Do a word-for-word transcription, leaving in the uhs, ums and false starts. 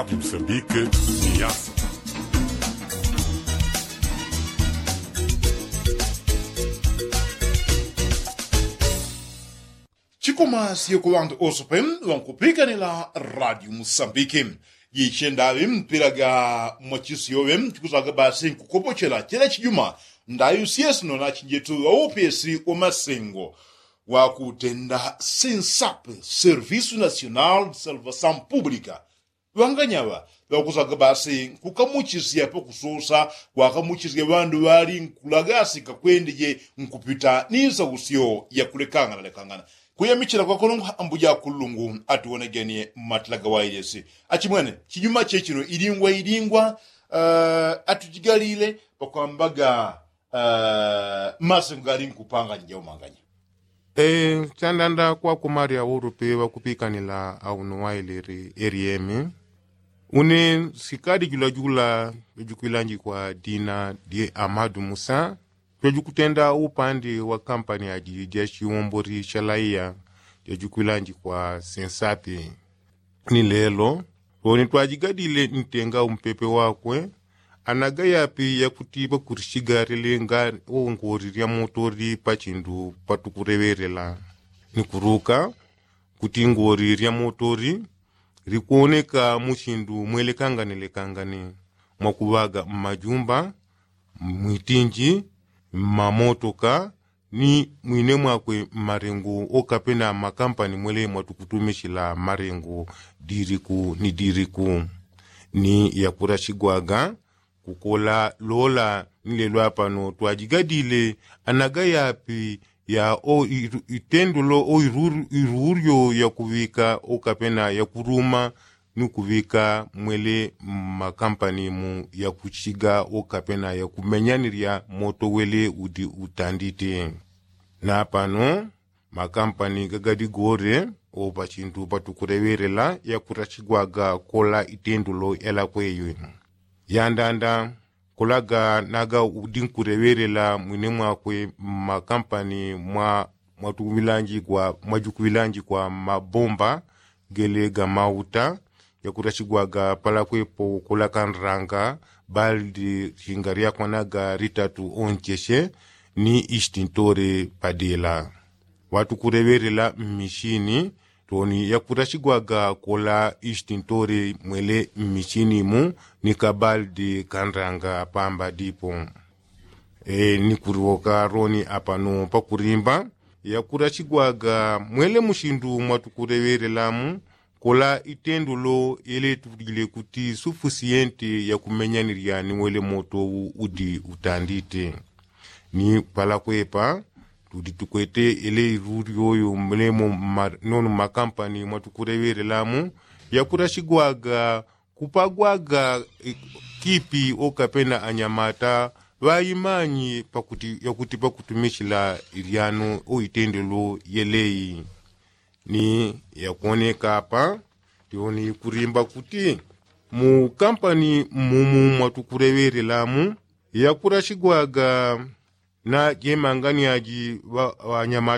Msambike. Ni yasa. Chikoma siyo ku ŵantu oso pe ŵankupikanila radio musambike. Jiche ndaŵi mpila ga mwachisiyo ŵe chikusaga basi nkukopochela chela chijuma. Ndayu siyesino na chinjetu ŵaupesi wa masengo wakutenda sensape servisu nasional de salvasaun publika. Ŵanganyaŵa ŵakusaga basi nkukamuchisya pakusosa kwakamuchisya ŵandu ŵali nkulagasika kwendeje nkupita ni nsausyo ya kulekangana lekangana. Kuyamichila kwakono ngu ambuja kulungu atuwonegenie matila gawailesi. Achimwene chijuma chechino ilingwa ilingwa. Atujigalile pakwambaga masengo gali nkupanganya jaumanganya. Chandanda kwakumalya ulupi ŵakupikanila auno wailili eliemi. Une sikali julajula jojukwilanjikwa dina dye amadu musa jojukutenda upandi wa kampani aji ja chiwomboli cha laiya jojukwilanjikwa sensapi. Ni lelo loni twajigadile ntenga umpepe wakwe. Anaga yapi yakutipa kulishigalile nga ongoli lya motoli pachindu patukuleŵelela ni kuruka kuti ngoli lya motoli likwoneka muchindu mwelekangane lekangane mwakuŵaga mmajumba, mwitinji, mmamotoka ni mwine mwakwe mmalengo okapena mmakampani mwele mwatukutumishila mmalengo diliku ni diliku. Ni yakulashigwaga kukola lola ni lelo apano twajigadile anaga yapi ya o itendolo o irulyo yakuŵika okapena yakuluma ni kuŵika mwele mmakampani mu yakuchiga okapena yakumenyanilya moto wele udi utandite. Na pano makampani gagadigole opachintu patukuleŵelela yakulashigwaga kola itendolo yalakweyo. Yandanda kolaga naga udi nkuleŵelela mwine mwakwe mmakampani mwa mwatukuŵilanjikwa mwajukuŵilanjikwa mmabomba gele gamauta yakulashigwaga palakwepo kolakandralanga baldi shinga lyakwanaga litatu oncheshe ni istintole padela. Watukuleŵelela mmishini toni yakulashigwaga kola istintole mwele mmishini mu ni kabaldi kandralanga pamba dipo. Ni kuliwoka loni apano pakulimba yakulashigwaga mwele mushindu mwatukuleŵelelamu kola itendolo yeletulile kuti sufusiyente yakumenyanilya ni wele moto udi utandite. Ni palakwepa tudi tukwete ele iruli yoyo mulemo nono mmakampani mwatukuleŵelelamu yakulashigwaga kupagwaga kipi okapena anyamata ŵaimanyi pakuti yakuti pakutumishila ilyano o itendelo yeleyi. Ni yakwoneka apa tioni kulimba kuti mu kampani mmumu mwatukuleŵelelamu yakulashigwaga na jemangani aji ŵanyamata.